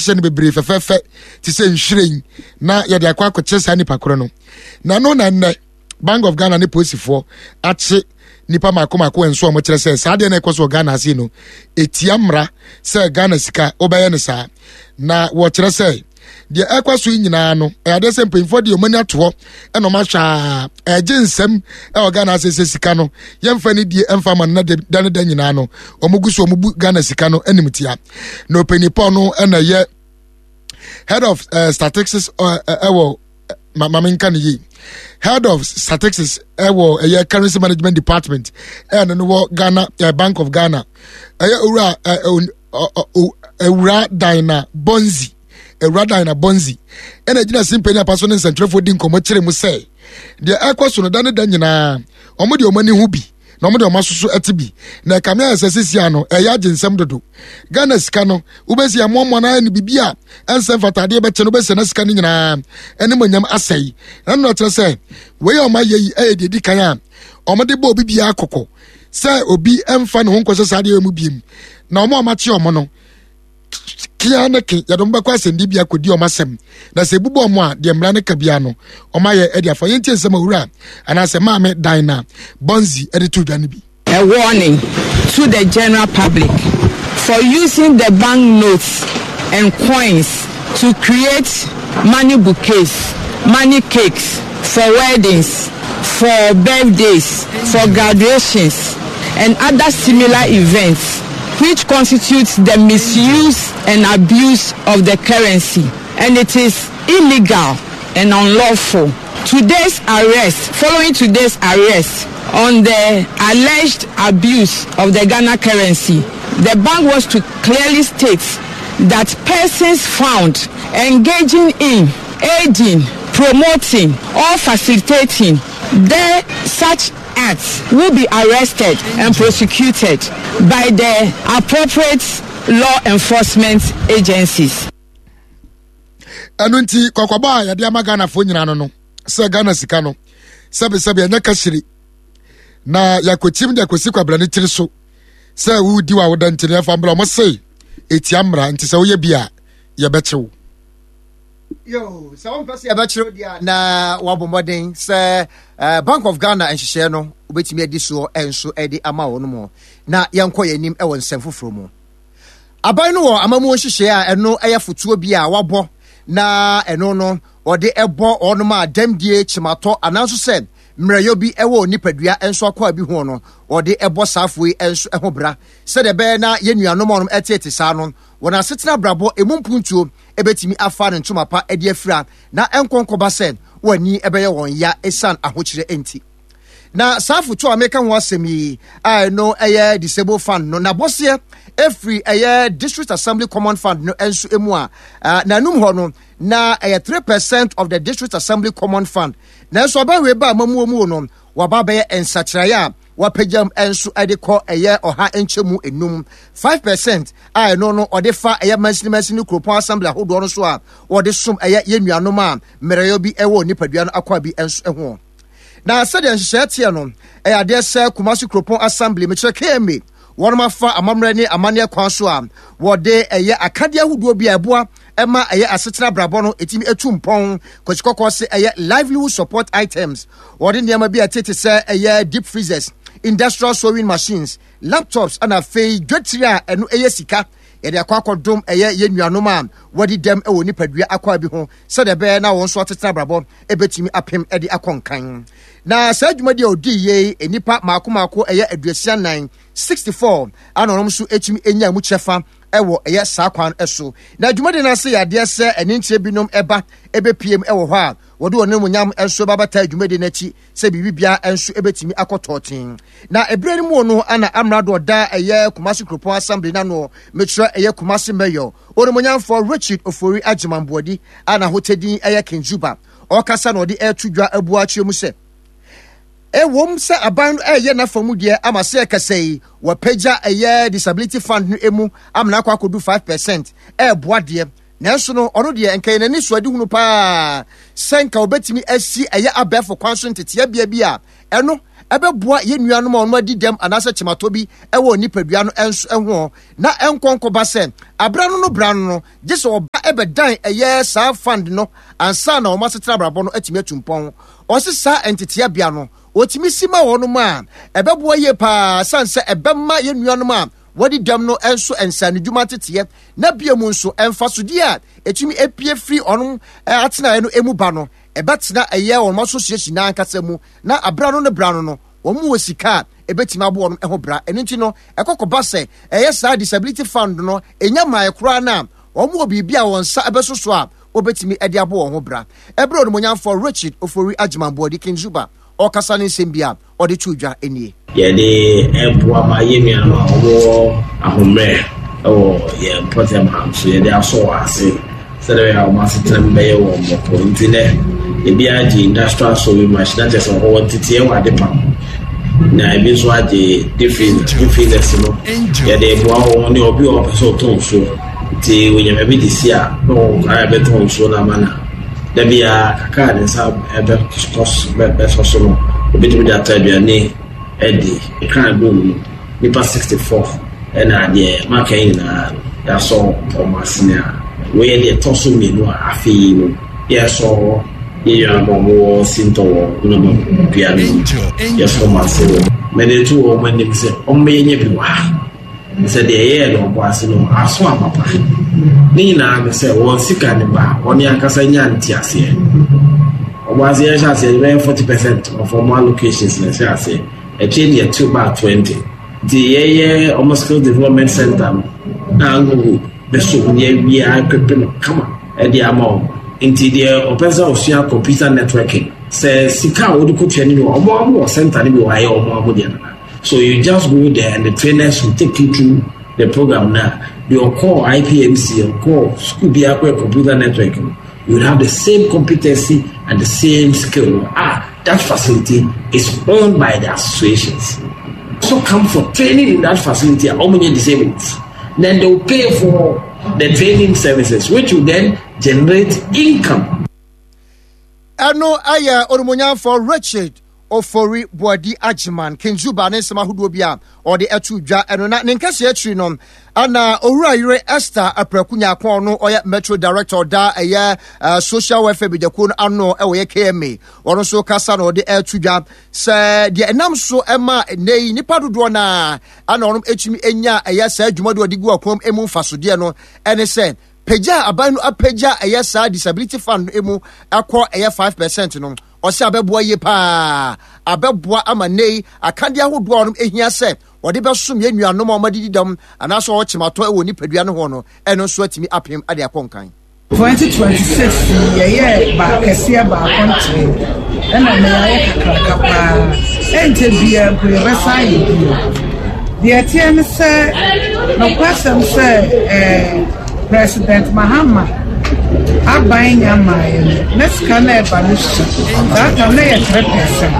yɛahyehyɛ no bebree fɛfɛɛfɛ te sɛ nhwiren na yɛde akɔ akɔkyɛ saa nipa korɔ no. Na no na nnɛ Bank of Ghana ne polisifoɔ akye nipa mako mako nso a wɔkyerɛ sɛ saa adeɛ na ɛkɔ so wɔ Ghana ase no etia mmara sɛ Ghana sika wobɛyɛ no saa. Na wɔkyerɛ sɛ deɛ ɛkɔ so yi nyinaa no ɛyɛ adeɛ sɛ mpanyinfoɔ deɛ wɔn ani ato hɔ ɛna wɔn ahwɛ a ɛgye nsɛm ɛwɔ Ghana ase sɛ sika no yɛmfa ne die ɛmfa ma no na da ne da nyinaa no wɔn gu so wɔn bu Ghana sika no anim tia. Na ɔpanyin no ɛna ɛyɛ head of uh, statistics ɛwɔ uh, uh, maame nka ne yie head of statistics ɛwɔ ɛyɛ currency management department ɛna no wɔ ghana uh, Bank of Ghana ɛyɛ owura ewura Dina Bonzi, ewura Dina Bonzi ɛna gyina simpanyin apa so ne nsɛntwerɛfoɔ di nkɔmɔ kyerɛ mu sɛ deɛ ɛkɔ so no da ne da nyinaa wɔn de wɔn ani ho bi na wɔn de wɔn asoso ɛte bi na ɛkame ayɛ sɛ sisi ano ɛyɛ agye nsɛm dodo. Ghana sika no wobɛsi amoamoa no ayɛ no biribi a ɛnsɛ mfatadeɛ bɛkyɛ no wobɛsɛ na sika no nyinaa ɛne monyam asɛe. Ɛno na kyerɛ sɛ wei a wɔn ayɛ yi ɛyɛ deɛ ɛdi kan a wɔn de bɔ obi biara kɔkɔ sɛ obi ɛmfa ne ho nkɔhyɛ saa adeɛ mu biem na wɔn a wɔakye wɔn no kea ne ke yɛde wɔn bɛkɔ asɛnnibea kɔdi wɔn asɛm na sɛ ebubu wɔn a deɛ mmara no ka biara no wɔn ayɛ ɛde afa. Yɛntie nsɛm owura anaasɛ maame Dinah Bonzi ɛde to dwa no bi. A warning to the general public for using the bank notes and coins to create money bouquets, money cakes for weddings, for birthdays, for graduations and other similar events which constitutes the misuse and abuse of the currency and it is illegal and unlawful. Today's arrest, following today's arrest on the alleged abuse of the Ghana currency, the bank wants to clearly state that persons found engaging in, aiding, promoting or facilitating the such acts will be arrested and prosecuted by the appropriate law enforcement agencies. Ɛno nti kɔkɔbɔ a yɛde ama Ghanafoɔ nyinaa no no sɛ Ghana sika no sɛbesɛbe ɛnyɛ kahyire na yɛakɔkyim de akɔsi kwabra ne tiri so sɛ wodi wa woda nti no yɛfa mbra ɔmo se ɛtia mmara nti sɛ woyɛ bi a yɛbɛkyew. Yo, sɛ wompɛ sɛ yɛbɛkyerɛw deɛ a na wabɔ mmɔden sɛ eh, Bank of Ghana nhyehyɛɛ no wobɛtumi adi soɔ nso de ama wɔn mu. Na yɛnkɔ yɛn anim wɔ nsɛm foforɔ mu. Aban no wɔ amammuo nhyehyɛɛ a ɛno yɛ fotoɔ bi a wabɔ na ɛno no wɔde bɔ wɔnom a dɛmdie, kyematɔ anaa nso sɛ mmerɛyɔ bi wɔ nipadua nso akwaa bi ho no wɔde bɔ saa afoɔ yi nso ho bra sɛdeɛ ɛbɛyɛ na yɛn nuanom a wɔnom ɛteete saa no wɔn asetena abrabɔ emu mpuntuo ɛbɛtumi afa ne ntoma pa de afira na ɛnkɔ nkɔba sɛ wɔn ani ɛbɛyɛ wɔn ya ɛsiane ahokyerɛ nti. Na saa afotu a meka ho asɛm yi a ɛno ɛyɛ Disabled Fund no n'abɔseɛ ɛfiri ɛyɛ District Assembly Common Fund no nso mu a n'anum hɔ no na ɛyɛ 3% of the District Assembly Common Fund. Nanso aban wei ba amamuo mu no waba abɛyɛ nsakyeraeɛ a wapagyam nso de kɔ ɛyɛ ɔha nkyɛmu enum 5% a ɛno no ɔde fa ɛyɛ mansini mansini kuropɔn assembly ahodoɔ no so a wɔde som ɛyɛ yɛn nuanom a mmerɛyɛ bi ɛwɔ nipadua no akwaa bi nso ho. Na sɛdeɛ nhyehyɛeɛ teɛ no, ɛyɛ adeɛ sɛ Kumasi Kuropɔn Assembly, mekyerɛ KMA, wɔnom afa amammerɛ ne amanneɛ kwan so a wɔde ɛyɛ akadeɛ ahodoɔ bi a ɛboa ɛma ɛyɛ asetena abrabɔ no ɛtumi ɛtu mpɔn. Kwasi Kɔkɔɔ se ɛyɛ livelihood support items. Wɔde nneɛma bi a ɛtete sɛ ɛyɛ deep freezers, industrial sewing machines, laptops ɛna afei dwetire a ɛno ɛyɛ sika yɛde akɔ akɔdom ɛyɛ yɛn nuanom a wɔadi dɛm wɔ nipadua akwaa bi ho sɛdeɛ ɛbɛyɛ na wɔn nso atetena abrabɔ ɛbɛtumi apem de akɔ nkan. Na saa dwumadi a ɔdii yei nnipa mmaako mmaako ɛyɛ 64, 64 ana wɔn nso ɛtumi ɛnya mu kyɛfa ɛwɔ ɛyɛ saa kwan so. Na dwumadi no ase yɛ adeɛ sɛ ɛne nkyerɛ binom ɛba ɛbɛpiem ɛwɔ hɔ a wɔde wɔn animuonyam nso ba bɛtaa dwumadi no akyi sɛ biribi biara nso ɛbɛtumi akɔ tɔɔten. Na ɛberɛ no mu no ana amrado ɔda ɛyɛ Kumasi Kuropɔn Assembly no ano mekyerɛ ɛyɛ Kumasi Mayor Onimuonyamfoɔ Richard Ofori Agyeman Boadi a n'ahotɛdin yɛ King Juba. Ɔrekasa na ɔde reto dwa abua akyerɛ mu sɛ, ɛwom sɛ aban no reyɛ n'afa mu deɛ ama sɛ ɛkasa yi wɔapagya ɛyɛ disability fund no emu ama no akɔ akɔdu 5% ɛreboa deɛ, nanso no ɔno deɛ nka yɛ n'ani so adehunu paa sɛ nka wɔbɛtumi asi ɛyɛ abɛɛfo kwan so nteteɛbea bi a ɛno ɛbɛboa yɛn nuanom a wɔn adi dɛm anaasɛ kyematɔ bi wɔ nipadua no nso ho na ɛnkɔ nkɔba sɛ abra no no bra no no gye sɛ ɔba ɛbɛdan ɛyɛ saa fund no ansa na wɔn asetena abrabɔ no atumi atu mpɔn. Ɔse saa nteteabea no wɔtumi si ma wɔn a ɛbɛboa yie paa sane sɛ ɛbɛma yɛn nuanom a wɔadi dɛm no nso nsaanodwuma nteteɛ na bio mu nso mfasodeɛ a ɛtumi apue firi wɔn atenaeɛ no mu ba no ɛbɛtena ɛyɛ wɔn association no ankasa mu na abra no ne bra no no wɔn wɔ sika a ɛbɛtumi abɔ wɔn ho bra. Ɛno nti no ɛkɔkɔba sɛ ɛyɛ saa disability fund no ɛnya mmaeɛ koraa no a wɔn wɔ biribi a wɔn nsa ɛbɛso so a wɔbɛtumi de abɔ wɔn ho bra. Ɛberɛ Onimuonyamfoɔ Richard Ofori Agyeman Boadi King Zuba ɔrekasa ne nsɛm bi a ɔde too dwa nie. Yɛde boa ma yɛn nuanom a wɔwɔ ahommrɛ wɔ yɛn mpɔtam ha nso, yɛde asɔ wɔn ase sɛdeɛ ɛbɛyɛ a wɔn asetena mu bɛyɛ wɔn bɔkɔɔ. Nti nɛ, ebi agye industrial sewing machine, na kyerɛ sɛ wɔwɔ nteteɛ wɔ adepam, na ebi nso agye deep freezer. Deep freezers no, yɛde boa wɔn ne obi a ɔpɛ sɛ ɔtɔ nsuo. Nti wɔnya baabi de si a, na wɔwɔ kwan a ɛbɛtɔn nsuo no ama no. Da biara, kakra a ne nsa bɛsɔ so no, obetumi de atɔ aduane adi. Kran bom no, nnipa 64 na deɛ maka yi nyinaa no, yɛasɔ wɔn asene a wei yɛ deɛ ɛtɔ so mmienu a afe yi mu yɛresɔ yɛn nuanom a wɔwɔ Sintɔ wɔ Nnɔba dua no mu, yɛsɔ wɔn ase wɔ. Mede to wɔn anim sɛ wɔmmɛyɛ bi wɔ ha. Sɛ deɛ ɛyɛɛ no ɔbɔ ase no aso aba pa. Ne nyinaa ne sɛ wɔn sika no ba a, wɔn ankasa nya nteaseɛ. Ɔbɔ ase yɛhyɛ aseɛ bɛyɛ 40% of wɔn allocations na ɛhyɛ aseɛ. Akyire deɛ ɛtew baa 20. Nti yɛyɛ wɔn skill development center no na Angogo bɛso mu yɛawie aequipe no kama de ama wɔn. Nti deɛ ɔpɛ sɛ ɔsua computer networking, sɛ sika a wɔde kɔtua no bi wɔ wɔn a wɔwɔ center no bi wɔ ha yɛ wɔn a wɔdeɛ nana. So you just go there and the trainers will take you through the program now. Deɛ ɔkɔɔ IPMC, ɔkɔɔ school bi akɔyɛ computer network no, you will have the same competency and the same skill. Ah, that facility is owned by the associations. So come for training in that facility, how many disabled? Then they will pay for the training services, which will then generate income. Ɛno yɛ Onimuonyamfoɔ Richard Ofori Boadi Agyeman, King Zuba ne nsɛm ahodoɔ bi a ɔde ato dwa ɛno na ne nkɛseɛ akyiri no ana Owura yere Esther Apraku Nyarko ɔno ɔyɛ Metro Director ɔda ɛyɛ eh, Social Welfare Badwakuo no ano ɛwɔ yɛ KMA ɔno nso kasa na ɔde ato dwa sɛ deɛ ɛnam so ɛma nnɛ yi nipa dodoɔ no a ana ɔnom ɛtumi anya ɛyɛ saa dwuma de ɔde gu akɔm emu mfasodeɛ no ɛne sɛ Pagya a aban no apagya ɛyɛ saa disability fund no mu ɛkɔ ɛyɛ 5% no, ɔsɛ abɛboa yie paa. Abɛboa ama nnɛ yi akadeɛ ahodoɔ a wɔn ehia sɛ wɔde bɛsom yɛn nuanom a wɔadidi dɛm anaasɛ wɔwɔ kyematɔ wɔ nipadua no ho no, ɛno nso atumi apem de akɔ nkan. 2026 yi yɛyɛɛ ba kɛseɛ baako nkyɛn ɛna nnɛ yɛayɛ kakraka paa ɛnkyɛ biara mpo yɛbɛsan ayɛ bio. Deɛ ɛteɛ ne sɛ nokwasɛm sɛ ɛɛ President Mahama aban nya mmaeɛ no na sika no ɛba no sua. Saa tam na yɛ 3%.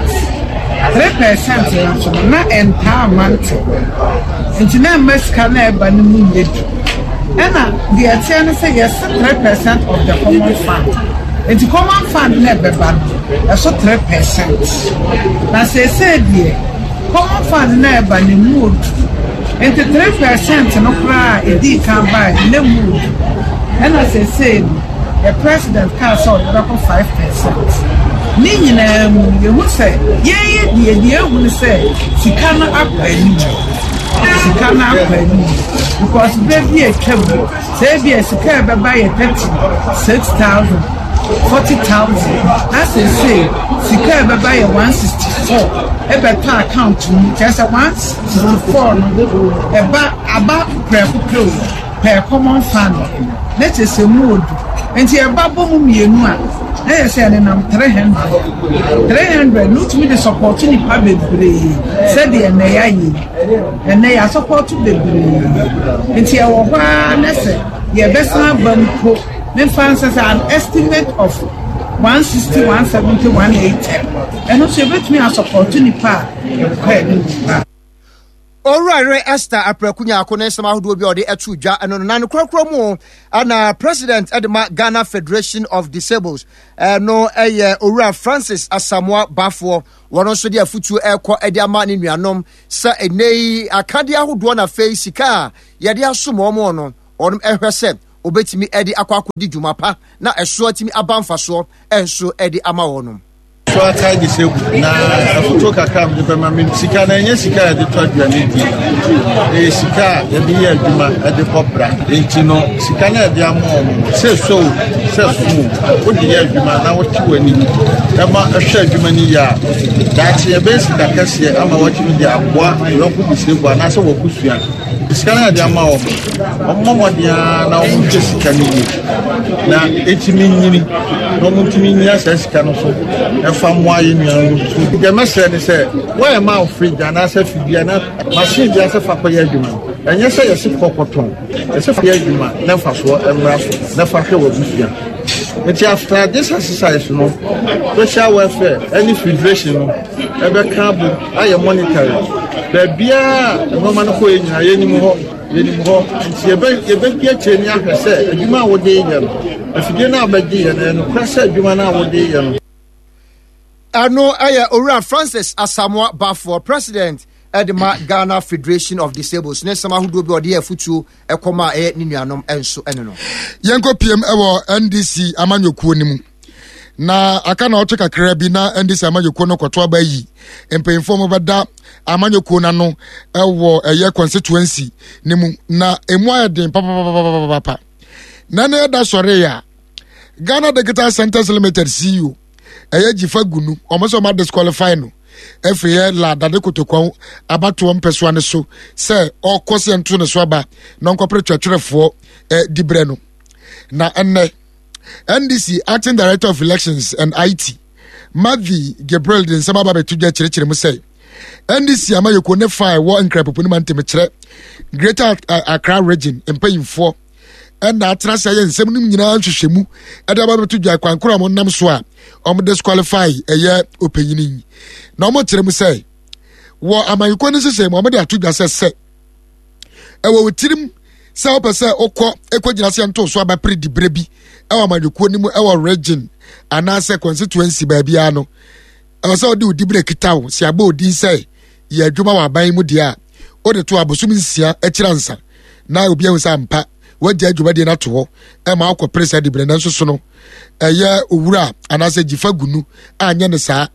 3% no nso no na ɛntaa mma ntɛm. Nti na ɛmma sika no ɛba no mu nyɛ du. Ɛna deɛ ɛteɛ ne sɛ yɛse 3% of the common fund. Nti common fund no ɛbɛba no ɛso 3%. Na seesei deɛ Common fund no a ɛba no emu odu. Nti 3% no koraa a edii kan bae no na emu odu. Ɛna seesei no yɛ president kaa sɛ ɔde bɛkɔ 5%. Ne nyinaa mu no yɛhu sɛ yɛn yɛ deɛ deɛ ehu ne sɛ sika no akɔ anim. Sika no akɔ anim because berɛ bi a atwam no Sɛ ebia sika a ɛbɛba yɛ 36,000, 40,000 na seesei sika a ɛbɛba yɛ 164 ɛbɛtɔ account mu kyerɛ sɛ 164 no ɛba aba prɛko pɛ o per common fund na kyerɛ sɛ mu odu nti ɛba bɔ mu mmienu a na yɛ sɛ ɛnenam 300 300 no wotumi de support nipa bebree sɛdeɛ ɛnɛ yɛayɛ yi. Ɛnnɛ yɛasɔpɔɔto bebree nti ɛwɔ hɔ ara na sɛ yɛbɛsan aba mpo memfa nsɛ sɛ an estimate of 160, 170, 180 ɛno nso yɛbɛtumi asɔpɔɔto nipa a ɛkɔ anim paa. Owura Yere Esther Apraku Nyarko ne nsɛm ahodoɔ bi a ɔde ato dwa no no, na ne korakora mu na President de ma Ghana Federation of Disables no yɛ Owura Francis Asamoah Bafoɔ. Wɔn nso de afutuo ɛrekɔ de ama ne nuanom sɛ ɛnnɛ yi akadeɛ ahodoɔ na afei sika a yɛde asom wɔn no, wɔn ɛhwɛ sɛ wɔbɛtumi de akɔ akɔdi dwuma pa na ɛso atumi aba mfasoɔ nso de ama wɔn. So akae de sɛ gu na afotuo kakra a mede bɛma me sika no ɛnyɛ sika a yɛde tɔ aduane di, ɛyɛ sika a yɛde yɛ adwuma de bɔ bra. Enti no sika no a yɛde ama wɔn no, sɛ ɛsɔ o sɛ ɛso o, wode yɛ adwuma na wote w'ani ɛma ɛhwɛ adwuma no yie a, daakye ɛbɛyɛ sika kɛseɛ ama woatumi de aboa yɔnko disable anaasɛ w'abusua. Sika no a yɛde ama wɔn no, wɔmmɔ mmɔden ara na wɔnhwɛ sika no yie na ɛtumi nyini na wɔntumi nyina saa sika no so ɛfa mmoa yɛn nuanom no. Deɛ mɛsrɛ ne sɛ wɔyɛ ma wo fridge anaasɛ fidie anaa machine bi asɛ fa kɔyɛ adwuma no, ɛnyɛ sɛ yɛse kɔ kɔtɔn, yɛse fa yɛ adwuma na mfasoɔ mmra so na fa hwɛ w'abusua. Nti after this exercise no, social welfare ɛne federation no ɛbɛka abom ayɛ monitoring. Baabiara a nneɛma no kɔɛ nyinaa yɛnim hɔ, yɛnim hɔ. Nti yɛbɛ yɛbɛdi akyire ne ahwɛ sɛ adwuma a wode yɛ no, afidie no a wobɛgye yɛ no, ɛyɛ nokorɛ sɛ adwuma no a wode yɛ no. Ɛno yɛ Owura Francis Asamoah Baffour, President de ma Ghana Federation of Disables ne nsɛm ahodoɔ bi a ɔde yɛ afutuo kɔma a ɛyɛ ne nuanom nso ne no. Yɛnkɔ piem wɔ NDC amanyɔkuo no mu. Na aka na ɔtwe kakra bi na NDC amanyɔkuo no kɔto aba yi mpanyinfoɔ mo bɛda amanyɔkuo no ano wɔ ɛyɛ constituency no mu na emu ayɛ den papapapapapa. Na ne ɛda sɔre a Ghana Digital Centers Limited CEO ɛyɛ Gyifa Gunu wɔn sɛ wɔn disqualify no afiri yɛ la dade kotokɔn abatoɔ mpɛsoa no so sɛ ɔkɔ sɛ nto ne so aba na ɔnkɔpere twɛtwerɛfoɔ eh, diberɛ no na ɛnnɛ ndc acting director of elections and it Matthew Gabriel de nsɛm aba bɛto dwa kyerɛkyerɛ mu sɛ ndc amayɛkuo ne fa a ɛwɔ nkrapopo no ma ntɛmkyerɛ greater accra region mpanyimfoɔ ɛna atena ase ayɛ nsɛm no nyinaa nhwehwɛmu ɛde aba bɛto dwa kwan koro a wɔnam so a wɔn disqualify ɛyɛ ɔpanyini yi na wɔn kyerɛ mu sɛ wɔ amanyɔkuo no nhyehyɛ mu wɔn de ato dwa sɛ sɛ ɛwɔ wɔ tirim sɛ wopɛ sɛ wokɔ ɛkɔgyina sɛ nto so abɛpere diberɛ bi ɛwɔ amanyɔkuo no mu ɛwɔ region anaasɛ constituency baabiara no ɛwɔ sɛ wode wo diberɛ kita wo sɛ abɔ odin sɛ yɛ adwuma wɔ aban mu deɛ a wode to abosom nsia akyiri ansa na obi ahu sɛ ampa wagya adwumadie no ato hɔ ɛma wokɔpere saa diberɛ nanso so no ɛyɛ owura anaasɛ gyifa gunu anyɛ ne saa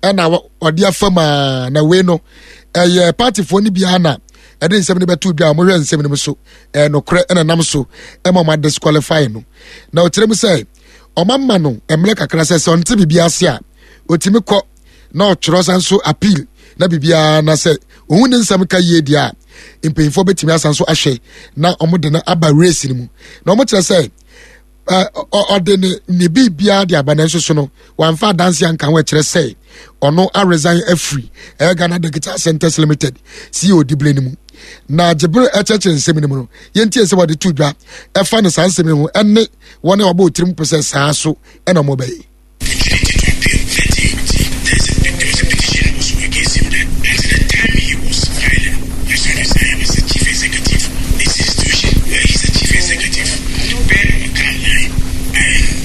ɛna ɔde afa mu a na wei no ɛyɛ partyfoɔ no biara na ɛde nsɛm no bɛto dwa a wɔhwɛ nsɛm no mu so ɛyɛ nokorɛ ɛna nam so ɛma wɔn adisqualify no na ɔkyerɛ mu sɛ ɔma no mmerɛ kakra sɛ sɛ ɔnte biribi ase a ɔtumi kɔ na ɔtwerɛ san so appeal na biribiara na sɛ ohun ne nsɛm ka yie deɛ a mpanyinfoɔ bɛtumi asan so ahwɛ na wɔn de no aba race no mu na wɔn kyerɛ sɛ ɔde ne ne biribiara de aba nanso so no wamfa adanse anka ho ɛkyerɛ sɛ ɔno aresign afiri ɛyɛ Ghana Digital Centers Limited CEO dibere no mu na gyebere ɛkyerɛkyerɛ nsɛm no mu no yɛntie sɛ wɔde to dwa ɛfa ne saa nsɛm yi ho ɛne wɔn a wɔbɔ tirim pɛ sɛ saa so ɛna wɔbɛyɛ.